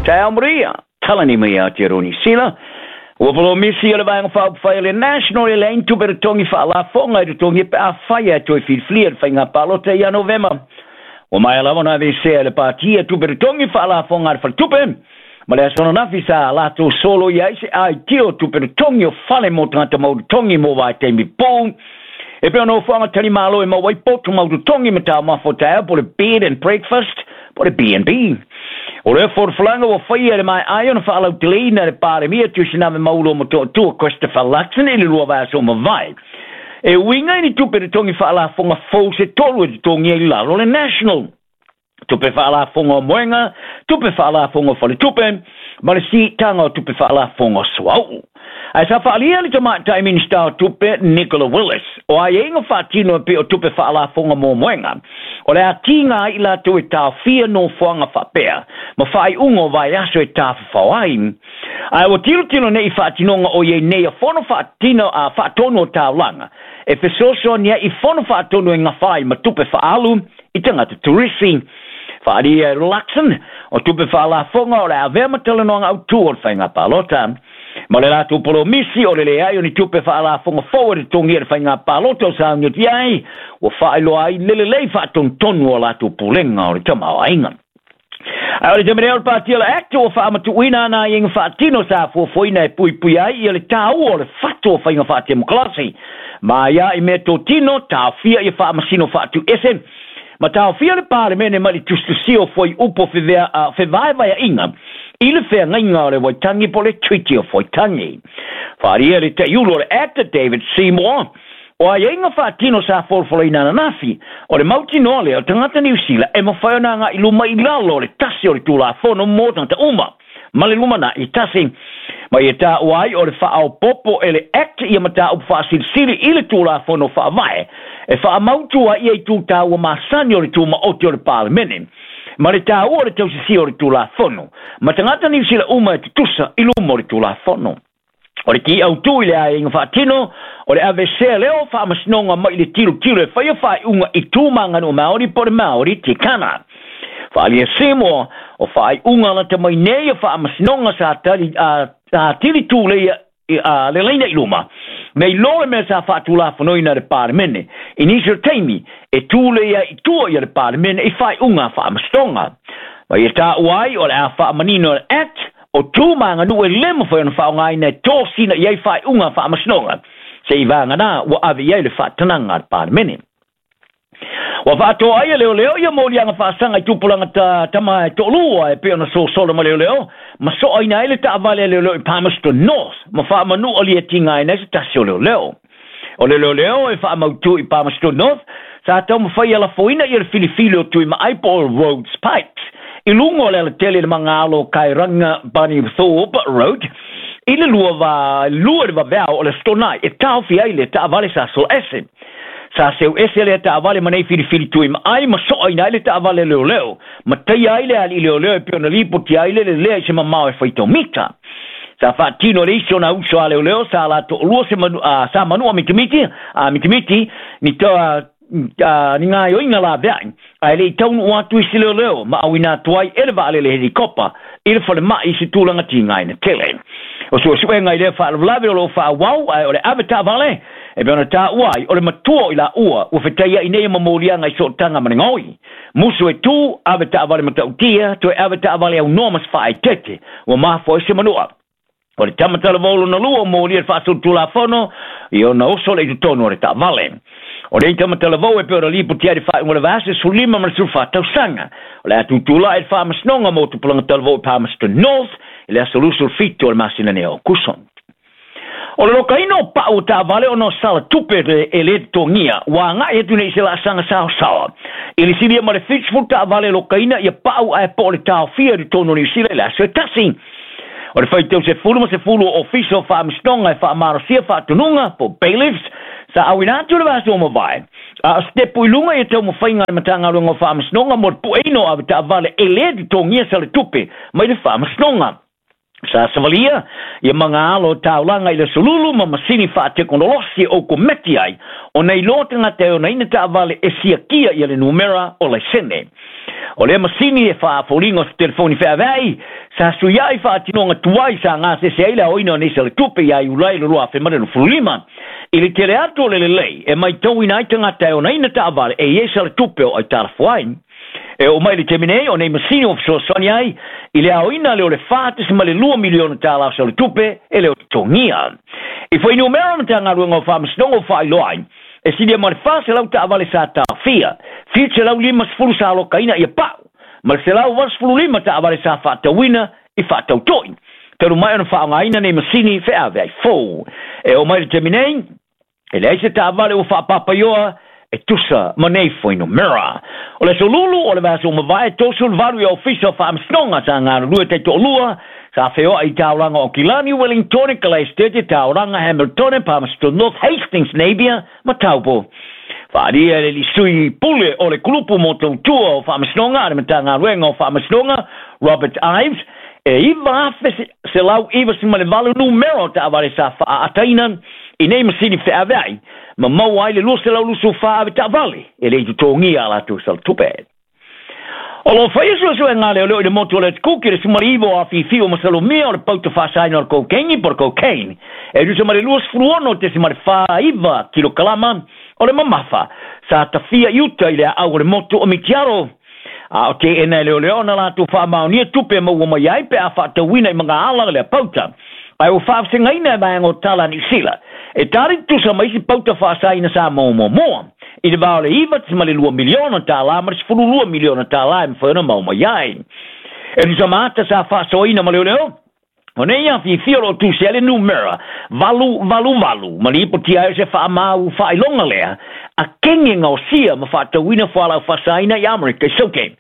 Taeao Maria, talani mai Aotearoa Niu Sila. Ua polomisi o le Vaega Faaupufai o le National e leai ni tupe totogi faalafoga e totogia pe afai ae toe filifilia i le faiga palota ia Novema. Ua maea lava ona aveesea e le Pati tupe totogi faalafoga a le Faletupe ma le aso ananafi sa latou soloia ai se aitio o tupe totogi o fale mo tagata mau totogi mo vaitaimi pou e pei o nofoaga talimalo e maua ai potu mau totogi ma taumafa o taeao po o le bed and breakfast po o le B&B. O lea folafolaga ua faia e le maeaea ona faalauteleina e le Palemia Tuisinave Maulo Motootua Christopher Luxon i le lua vaiaso ua mavae. E uiga i ni tupe totogi faalafoga fou se tolu e totogia i lalo o le National. Tupe faalafoga o moega, tupe faalafoga o faletupe, ma le siitaga o tupe faalafoga o suauu. Ae sa faaalia le tamaitai Minisita o Tupe Nicola Willis, o aiaiga faatino e pei o tupe faalafoga mo moega, o le a tiga ai i latou e taofia nofoaga faapea ma faaiuga o vaiaso e tafafao ai. Ae ua tilotilo nei i faatinoga o i ai nei a fono faatino a faatonu o taulaga e fesoasoani ai i fono faatonu e gafa ai ma tupe faaalu i tagata turisi. Faaalia e Luxon, o tupe faalafoga o le a avea ma talanoaga autū o le faiga palota. Ma le latou polomisi o le leai o ni tupe faalafoga fou e totogia i le faiga palota o sauni atu i ai, ua faailoa ai le lelei faatonutonu o latou pulega o le tamaoaiga. Ae o le taimi nei o le Pati o le Act ua faamatuuina ana aiaiga faatino sa fuafuaina e puipuia ai ia le taua o le fatu o faiga faatemokarasi ma aia i mea totino taofia ia faamasino faatuiese ma taofia le Palemene mai le tusitusia o fuaiupu o fevaevaeaiga i le feagaiga o le Waitangi po o le Treaty of Waitangi. Faaalia le taiulu o le Act David Seymour, o aiaiga faatino sa folafolaina ananafi, o le mautinoa lea o tagata Niu Sila e mafai ona agai i luma i lalo o le tasi o le Tulafono mo tagata uma ma le lumanai tasi. Ma ia taua ai o le faaopoopo e le Act ia mataupu faasilisili i le Tulafono Faavae e faamautu ai ia itu taua masani o le tumaoti o le Palemene ma le taua o le tausisia o le Tulafono ma tagata Niu Sila uma e tutusa i luma o le Tulafono. O le ki autū i le aiaiga faatino, o le aveesea lea o faamasinoga mai i le tilotilo e faia faaiuga i tu ma aganuu Māori po o le Māori Tikanga. Faaalia Seymour, o faaiuga lata mai nei o faamasinoga sa tali, a, sa tili tūleia i, a, le laina i luma, nei lo le mea sa faatulafonoina e le Palemene i nisi o taimi e tūlei ai i tua ia le Palemene i faaiuga a faamasinoga. Ma ia taua ai o le a faamanino e le Act O tu ma aganuu e le mafai ona faaaogaina e tosina i ai faaiuga a faamasinoga, se i vagana ua ave i ai le faatanaga a le Palemene. Ua faatoa ai e leoleo ia moliaga faasaga i tupulaga ta tama e toalua e pei ona sosolo ma leoleo ma soaina ai le taavale a leoleo i Palmerston North ma faamanu'a liatigaina ai se tasi o leoleo. O le leoleo e faamautu i Palmerston North sa taumafai e lafoina ia le filifili o Tuimaai po o Rhodes Pikes i luga o le alatele i le magalo o Kairanga Bunnythorpe Road i le lua va lua i le vaveao o le Aso Toonai e taofi ai le taavale sa sola ese. Sa seu ese lea taavale ma nei filifili Tuimaai ma soaina ai le taavale leoleo ma taia ai le alii leoleo e pei ona lipotia ai le lelea i se mamao e faitau mita. Sa faatino e le isi o nā uso a leoleo sa la toʻalua se manu, a, sa manua mitimiti, a mitimiti, ni to, a, a, ni gaoioiga laveai, ae le i taunuu atu isi leoleo ma auina atu ai e le vaalele helikopa i le falemai i se tulaga tigaina tele. O suesuega i lea faalavelave o lo o faaauau, ae o le ave taavale e pei ona taua ai, o le matua o i laua ua fetaiai nei ma moliaga i sootaga ma le gaoi. Musu e tu, ave taavale matautia, toe ave taavale aunoa ma se faaeteete, ua mafua ai se manua. O le tama talavou lona lua o molia le faasolitulafono i ona oso le i totonu o le taavale. O lenei tama talavou e pei ona lipotia ai le faaiuga o le vaiaso 15 ma le 14 tausaga. O le a tutulai le faamasinoga mo tupulaga talavou i Palmerston North i le aso 27 o le masina nei o Aokuso. O le lokaina o pau o taavale ona o sala tupe e le totogia, ua agai atu nei i se laasaga saosaoa. I le silia ma le 70 taavale e lokaina ia pau ae po o le taofia i totonu o Niu Sila i le aso e tasi. O le faitau sefulu ma sefulu o Ofisa o Faamasinoga e faamalosia faatonuga, po o bailiffs, sa auina atu i le vaiaso ua mavae. A o se tepu i luga ia taumafaiga a le Matagaluega o Faamasinoga mo le pueina o avetaavale e le totogia sala tupe mai le Faamasinoga. Sa savalia ia magaalo taulaga i le sululu ma masini faatekonolosi o kometi ai ona iloa tagata e onaina taavale e siakia ia le numera o laisene. O lea masini e faafoliga o se telefoni feaveai sa suiai faatinoga tuai sa gasese ai le aoina o nisi o le tupe ia Iulai le 2025. I le tele atu o le lelei e maitauina ai tagata e onaina taavale e i ai sa le tupe o aitalafu ai. E oo mai le taimi nei o nei masini o fesoasoani ai i le aoina lea o le $4.2 miliona tala o sa le tupe e le o totogia. I fuainumera Matagaluega o Faamasinoga o faailoa ai e silia ma le 400 taavale sa taofia, 750 sa alokaina ia pau, ma le 185 taavale sa faatauina i faatautoi talu mai ona faaaogaina nei masini feaveai fou. E oo mai le taimi nei e leai se taavale ua faapapaioa e tusa ma nei fuainumera. O le aso Lulu o le vaiaso ua mavae, 38 i ofisa o faamasinoga sa galulue taitoalua sa feoai i taulaga o Kilani, Wellingtone, Kalaestete, Tauranga, Hamiltone, Palmerston North, Hastings, Napier ma Taupo. Faaalia e le sui pule o le kulupu mo tautua o faamasinoga a le Matagaluega o Faamasinoga, Robert Ives, e 9,198 numera o taavale sa faaataina i nei masini feaveai ma maua ai le 224 ave taavale e le i totogia a latou salatupe. O lo faia suesuega leoleo i le motu o le Kuki le 19 o afifi o masalomia o le pauta faasaina o le kokeini po o le cocaine e tusa ma le 26.49 kilokalama o le mamafa sa tafia i uta i le aau o le motu o Mitiaro. A o teena e leoleo ona latou faamaonia tupe e maua mai ai pe a faatauina i magaala lea pauta. Ae ua faavasegaina e vaega o tala a Niu Sila e tali tutusa ma isi pauta faasaina sa maua muamua i le va o le $9.2 miliona tala ma le $12 miliona tala e mafai ona maua mai ai. E tusa ma ata sa faasoaina ma leoleo, o nei afifi o loo tusi ai le numera 888 ma lipotia ai o se faamau faailoga lea a kenge gaosia ma faatauina fualaau faasaina i Amerika i Saute.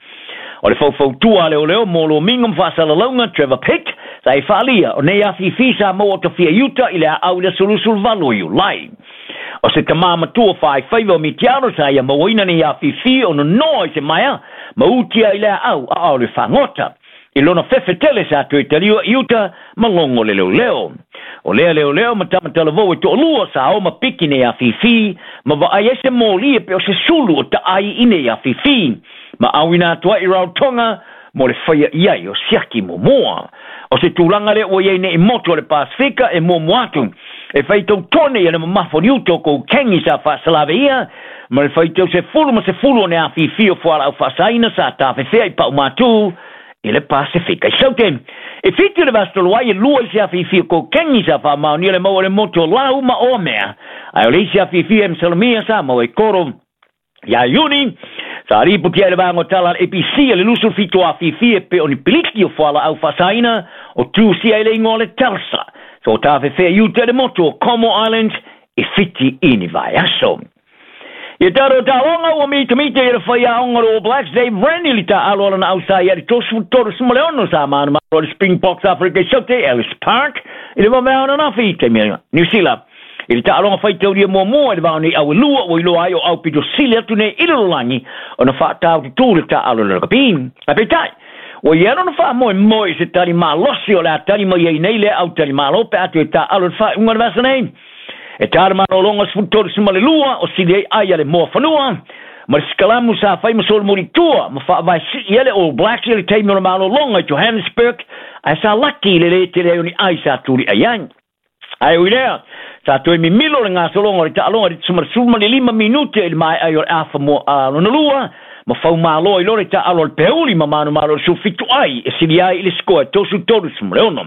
O le faufautua a leoleo mo lomiga ma faasalalauga Trevor Pitt sa e faalia o nei afifi sa maua o tafia i uta i le aau i le aso 28 o Iulai. O se tamā matua faaifaiva o Mitiaro sa ia mauaina nei afifi o nonoa i se maea ma utia i le aau a o le fagota. I lona fefe tele sa toe taliua i uta ma logo le leoleo. O lea leoleo ma tamatalavou e toalua sa o ma piki nei afifi ma vaai ai se moli e pe o se sulu o taai i nei afifi. Ma auina atu ai i Rarotonga mo le faia i ai o siaki muamua. O se tulaga lea ua i ai nei motu o le Pasifika e muamua atu e faitau tone ia le mamafa o ni uta o koukeini sa faasalave ia ma le faitau sefulu ma sefulu o ne afifi o fualaau faasaina sa tafefea i paumatū i le Pasifika. I Saute, e 7 le vaiaso talu ai e lua isi afifi o kokeini sa faamaonia le maua o le motu o Lau ma Oamea. Ae o le isi afifi e masalomia sa maua i Koro. Ia Iuni, sa ripotia ai le vaega o tala a le ABC le 27 afifi e pe o ni piliki o fualaau faasaina o tusia i le igoa o le Telsa. So tafefea i uta i le motu o Como Islands i Fiti i ni vaiaso. Ia tatou taaloga ua mitamita i le faiaoga o le All Blacks Dave Rennie i le taaalo a lona ausā ia le 36 sa manumalo le Springboks Afrika i Saute Ellis Park i le vavea ananafi i taimi Niu Sila. I le taaloga faitaulia muamua i le vao nei au e lua ua iloa ai o au pito sili atu nei i le lalolagi ona faataututū le taaalo i le rakapi. Ae peitai, ua i ai lona faamoemoe i se tali malosi o le a tali mai ai nei lea au talimalo pe a toe taaalo i le faaiuga o le vaiaso nei. E tā le malologa 32 o sili ai ai a le Moafanua ma le sikalamu sa fai ma solomuli tua ma faavae sii ai le All Blacks i le taimi o le malologa i Johannesburg ae sa laki i le lē tele ai o ni ai sa tuliai ai. Ae ui lea, sa toe mimilo le gasologa o le taaloga i le 15 minute i le maea ai o le afa mua lona lua ma faumalo ai loa le taaalo a le Peuli ma manumalo i le 17 ai e sili ai i le sikoa e 33-6.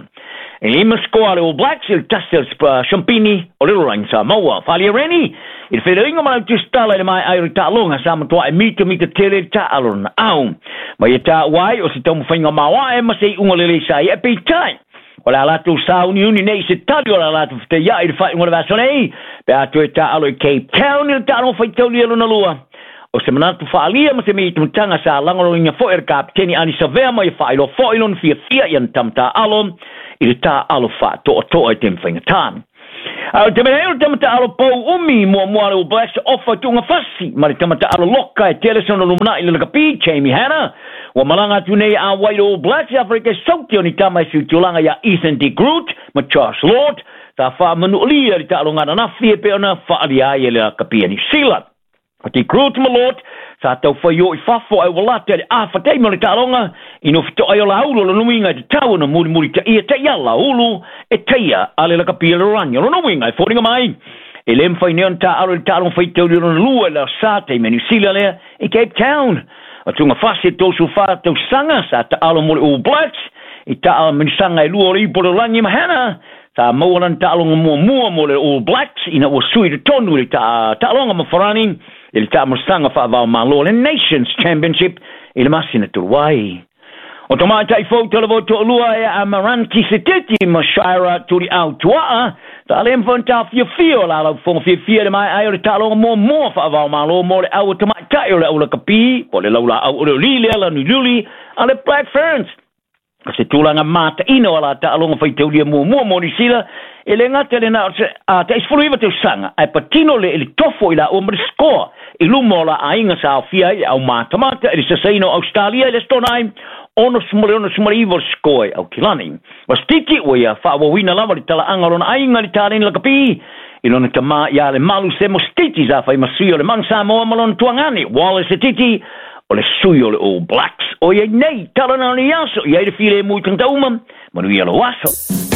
E 5 sikoa a le All Blacks i le 1 a le Siampini o le lalolagi Samoa. Faaalia Rennie i le feiloaiga ma lau tusitala i le maea ai o le taaloga sa matuā e mitamita tele le taaalo lona au. Ma ia taua ai o se taumafaiga maoae ma se iuga lelei sa ia e peitai. O le a latou sauniuni nei i se tali o le a latou fetaiai i le faaiuga o le vaiaso nei pe a toe taaalo i Cape Town i le taaloga faitaulia lona lua. O se manatu faaalia ma se mitamitaga sa lagolagoina foi e le kapeteni Ani Savea ma ia faailoa foi lona fiafia i ana tama taaalo i le taaalo faatoatoa i taimi faigata. A o te mea o le tamata'alo pou umi muamua le All Blacks ofa tuugafasi ma le tamata'alo loka e tele sona lumana'i le lakapi Jamie Hanna ua malaga atu nei auai le All Blacks i Aferika Sauti o ni tama e siutulaga iā Ethan de Groot ma Josh Lord sa faamanu'alia le ta'aloga ananafi e pei ona fa'alia ai e le lakapi a Niusila. O de Groot ma Lord sa taufai o i fafo ai ua late le afa taimi o le ta'aloga ina fito'a ai o laulu o lona uiga e tatau ona mulimuli ta'ia ta'iala ulu e taia a le lakapi a le lalolagi. O lona uiga e foliga mai e lē mafai nei ona ta'alo i le ta'aloga faitauli o lona lua i le aso Sā taimi a Niusila lea i Cape Town. O tugafasi e 34 tausaga sa ta'alo mo le All Blacks i taamilosaga e lua o le ipu o le lalolagi ma Hannah sa maua lana ta'aloga muamua mo le All Blacks ina ua sui i totonu i le ta'aloga ma Farani i le taamilosaga fa'avaomālō le Nations Championship i le masina talu ai. O tamaitai fou talavou to'alua e Amaranti Setiti ma Shira Tuli'au Tua'a sa le mafai ona taofiofia o lalau fofoga fiafia i le mae'a ai o le ta'aloga muamua fa'avaomālō mo le au a tamaitai o le aulakapi po o le laula'au olioli lea lanuliuli a le Black Ferns. O se tulaga mata'ina o a la ta'aloga faitaulia muamua mo Niusila e lē gata le na o se a ta'i 19 tausaga ae patino le i le tofo i la'ua ma le scoa i luma o la aiga sa aofia ai le aumatamata i le sasaina o Australia i le Aso Toonai 66-69 le scoa i Aukilani. O Setiti ua ia fa'aauauina lava le tala'aga o lona aiga i le taleni lakapi i lona tamā iā Lemalu Semo Setiti sa fai ma sui o le Manu Samoa ma lona tuagane Wallace Setiti o le sui o le All Blacks. O iai nei tala na o nei aso i ai le filemu i tagata uma, manuia lou aso.